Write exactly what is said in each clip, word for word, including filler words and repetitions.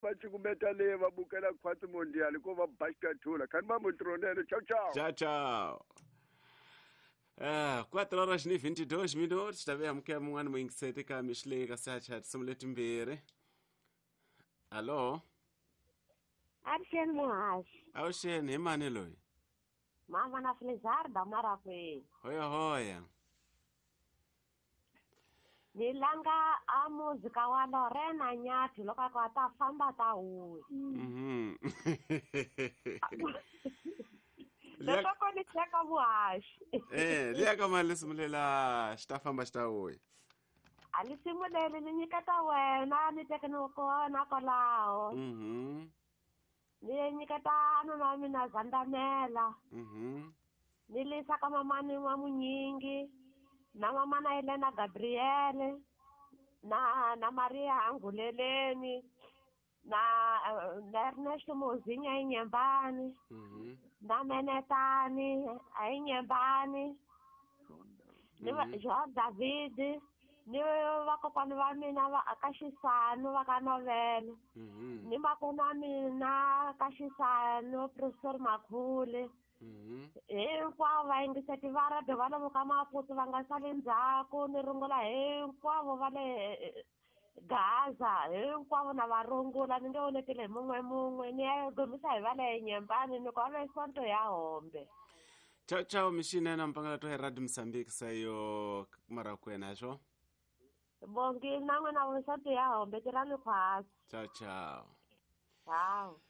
va cukumeta le va bukela khwatsi mondial ko va ba xikathula khani va mutronele. Tchau tchau. Tchau tchau. Ah, quatro horas e vinte e dois minutos. Também amukela mun'wana muyingiseti ka mixileka se a tinsimu letimbirhi. Allo? Avuxeni muhaxi. Avuxeni, hi mani loyi? Mama na Felizarda Marakwini. Hoya hoya. Ni langa a muzika wa Lorena Nyathi loko a ku a ta famba ta huya. Mhm. Loko ni cheka muhaxi. Eh, liya ka mali simulela xi ta famba xi ta vuya. A ni simuleli ni nyiketa wena ni teke ni kona kwalaho. Mhm. Ni nyiketa nuna wa mina Zandamela. Mhm. Ni lisa ka mamani wa Munyingi na mamana Helena Gabriele na na Maria Anguleleni na na Ernesto Mozinha eNyembani. Mhm. Na Menetani eNyembani. Ni va João David ni vakokwani va mina va ka Xisanu va ka Novela. Mhm. Ni makona wa mina ka Xisanu Professor Makhule. Mhm. Hinkwavo vayingiseti va radio va lomu ka Maputo va nga sali ndzhaku ni rungula hinkwavo va le Gaza hinkwavo na va rungula ni nge onetile hi mun'we mun'we ni ya gomisa hi va le Nyembani ni ku va le Sonto ya Hombe. Tchau tchau mixinene mpangela to hi Radio Mozambique sayo Marakwena swo. Bongi na n'wina vo Sonto ya Hombe tirhani khwatsi. Tchau tchau. Tchau.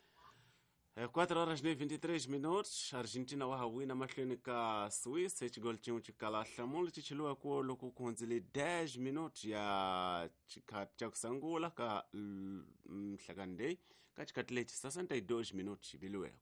quatro horas e vinte e três minutos, Argentina wa ha wina mahlweni ka Swiss hi xigolo xin'we xi kala nhlamulo xi cheliwa ku loko ku hundzile dez minutos ya xikhati xa ku sungula ka nhlekani leyi ka xikhati lexi sessenta e dois minutos xi biliwe.